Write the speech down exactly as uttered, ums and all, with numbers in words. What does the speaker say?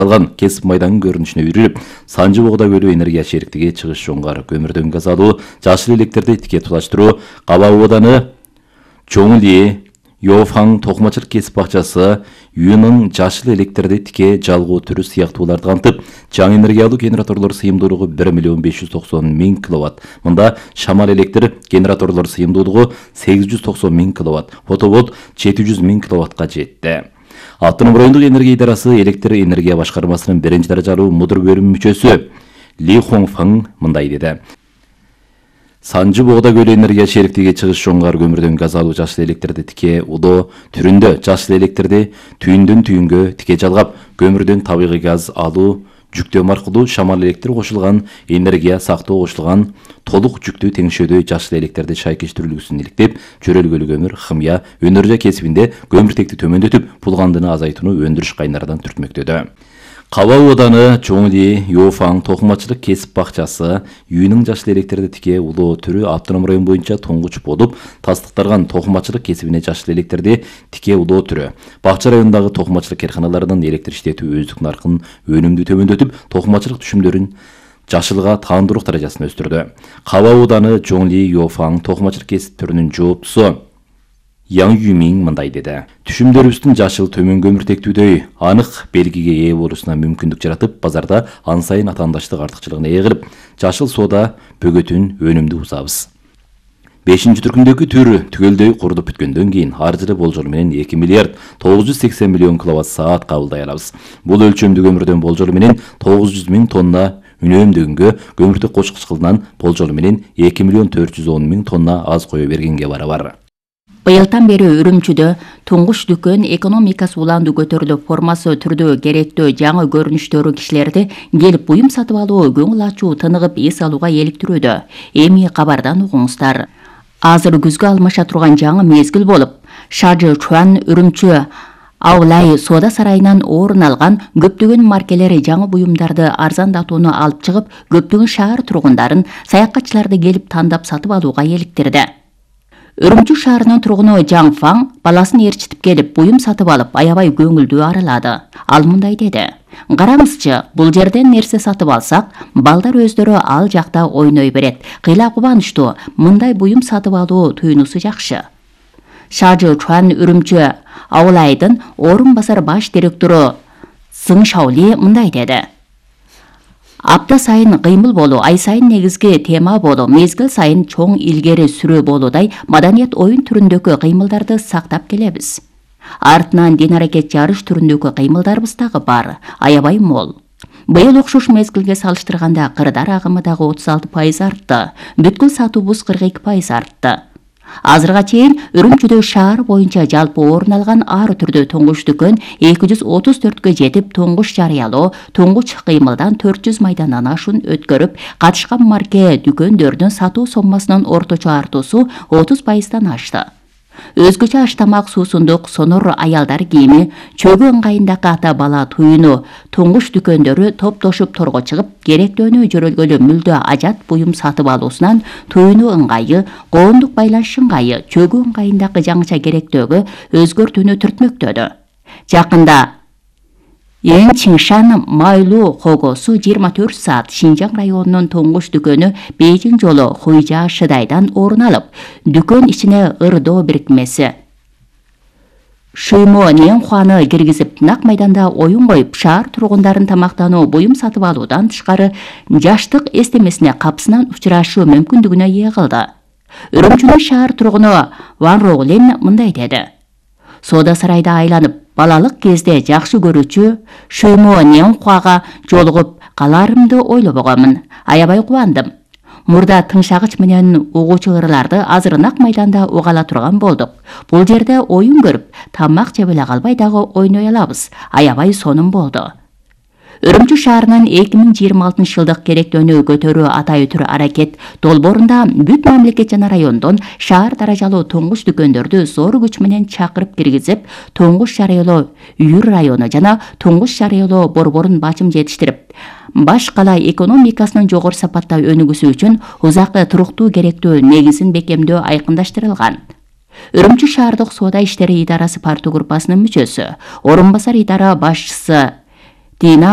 алган кесип майдангын көрүнүшүнө үйрүлүп, Санжы Богда көлү энергия шериктиги чыгыш жоңгар көмүрдөн газ алуу, жашыл электерди тике туташтыруу, Каба ооданы Чоңли, Йофаң токумачылык кесип бакчасы, Юнун жашыл электерди тике жалгоо түрү сыяктууларды камтып, жаңы энергия алуу генераторлор сыйымдуулугу бир миллион беш жүз токсон миң киловатт. Мында шамал электр генераторлор сыйымдуулугу сегиз жүз токсон миң киловатт, фотоволт жети жүз миң киловаттка жетти. Автоном райондук энергия идарасы электр энергия башкармасынын биринчи даражалуу мудур бөлүм мүчөсү Ли Хоңфаң мындай деди. Санжы Богда көлү энергия шериктиги чыгыш жоңгар көмүрдөн газ алуу жашыл электерди тике удоо түрүндө жашыл электерди түйүндөн түйүнгө тике жалгап, көмүрдөн табигый газ алуу жүктөм аркылуу шамал электр кошулган энергия сактоо кошулган толук жүктүү теңшөөдөй жашыл электерди шайкештирүүлүгүсүн иликтеп, чөрөлгөлүү көмүр, химия, өнөр кесибинде көмүртекти төмөндөтүп, пулгандыны азайтууну өндүрүш кайнардан түртмөктөдү. Каба ооданы Чоңли, Йофаң токумачылык кесип бакчасы, Юнун жашыл электерди тике улоо түрү автоном район боюнча туңгуч болуп, тастыктарган токумачылык кесибине жашыл электерди тике улоо түрү. Бакча районундагы токумачылык карканаларынын электр иштетүү өздүк наркын өнүмдүү төмөндөтүп, токумачылык түшүмдөрүн жашылга таандыруу даражасын өстүрдү. Каба ооданы Чоңли, Йофаң токумачылык кесип түрүнүн жооптусу Яң Юмиң мындай деди. Түшүмдөрүбүздүн жашыл төмөн көмүртектүүдөй анык белгиге ээ болуусуна мүмкүндүк жаратып, базарда ан сайын атаандаштык артыкчылыгына ээ кылып, жашыл соода бөгөтүн өнүмдүү узабыз. бешинчи түркүмдөгү түр түгөлдөй курдуп бүткөндөн кийин ар жылы болжол менен эки миллиард тогуз жүз сексен миллион киловатт саат кабылдай алабыз. Бул өлчөмдүү көмүрдөн болжол менен тогуз жүз миң тонна үнөөмдөгөнгө, көмүртөк кочкучкылынан болжол менен эки миллион төрт жүз он миң тонна аз кое бергенге барабар. Быйылдан бери Үрүмчүдө туңгуч дүкөн экономикасы уланды көтөрүлүп, формасы түрдө керектүү жаңы көрүнүштөрү кишилерди келип буюм сатып алуу, көңүл ачуу, тыныгып эс алууга эликтирүүдө. Эми кабардан угуңуздар. Азыр күзгө алмаша турган жаңы мезгил болуп, Шажы Чуан Үрүмчү Аулай соода сарайынан орун алган көптөгөн маркелери жаңы буюмдарды арзандатууну алып чыгып, көптөгөн шаар тургундарын, саякатчыларды келип тандап сатып алууга эликтирди. Үрүмчү шаарынын тургуну Жаң Фаң баласын ээрчитип келип, буюм сатып алып, аябай көңүлдүү арылады. Ал мындай деди. Караңызчы, бул жерден нерсе сатып алсак, балдар өздөрү ал жакта ойной берет. Кыйла кубанычтуу, мындай буюм сатып алуу туюнусу жакшы. Шажы Чуан Үрүмчү Аулайдын орун басар баш директору Сың Шаули мындай деди. Апта сайын кыймыл болуу, ай сайын негизги тема болуу, мезгил сайын чоң илгери сүрөө болуудай маданият оюн түрүндөгү кыймылдарды сактап келебиз. Артынан дин аракет жарыш түрүндөгү кыймылдарыбыз дагы бар, аябай мол. Быйыл окшош мезгилге салыштырганда кырдар агымы дагы отуз алты пайыз артты, бүткүл сатуубуз кырк эки пайыз артты. Азырга чейин Үрүмчүдө шаар боюнча жалпы орун алган ар түрдүү туңгуч дүкөн эки жүз отуз төрткө жетип, туңгуч жарыялоо, туңгуч кыймылдан төрт жүз майдандан ашуун өткөрүп, катышкан марке дүкөндөрдүн сатуу соммасынын орточо артуусу отуз пайыздан ашты. Өзгөчө аштамак, суусундук, сонор аялдар кийими, чөгү ыңгайындагы ата бала туюну, туңгуч дүкөндөрү топтошуп торго чыгып, керектөөнү жөрөлгөлү мүлдө ажат буюм сатып алуусунан туюну ыңгайы, коомдук байланыш ыңгайы, чөгү ыңгайындагы жаңыча керектөөгө өзгөртүүнү түртмөктөдү. Жакында Эң Чиншан майлуу когосу жыйырма төрт саат Шинжаң районунун туңгуч дүкөнү Бейжиң жолу Хуйжа Шыдайдан орун алып, дүкөн ичине ырдоо бирикмеси Шыймо Ненхуаны киргизип, нак майданда оюн коюп, шаар тургундарын тамактануу, буюм сатып алуудан тышкары жаштык эстемесине капсынан учурашуу мүмкүндүгүнө ээ кылды. Үрүмчүнүн шаар тургуну Ван Роулин мындай деди. Соода сарайда айланып, балалык кезде жакшы көрүүчү Шыймо Ненхуага жолугуп калаарымды ойлобогонмун. Аябай кубандым. Мурда тыңшагыч менен угуучу ырларды азыр нак майданда угала турган болдук. Бул жерде оюн көрүп, тамак жеп эле калбай дагы ойной алабыз. Аябай сонун болду. Үрүмчү шаарынын эки миң жыйырма алтынчы жылдык керектөөнү көтөрүү атайы түр аракет долбоорунда бүт мамлекет жана райондон шаар даражалуу туңгуч дүкөндөрдү зор күч менен чакырып киргизип, туңгуч жарыялоо Үйүр району жана туңгуч жарыялоо борборун бачым жетиштирип, баш кала экономикасынын жогору сапатта өнүгүүсү үчүн узакы туруктуу керектөө негизин бекемдөө айкындаштырылган. Үрүмчү шаардык соода иштери идарасы парту группасынын мүчөсү, орун басар идара башчысы Дина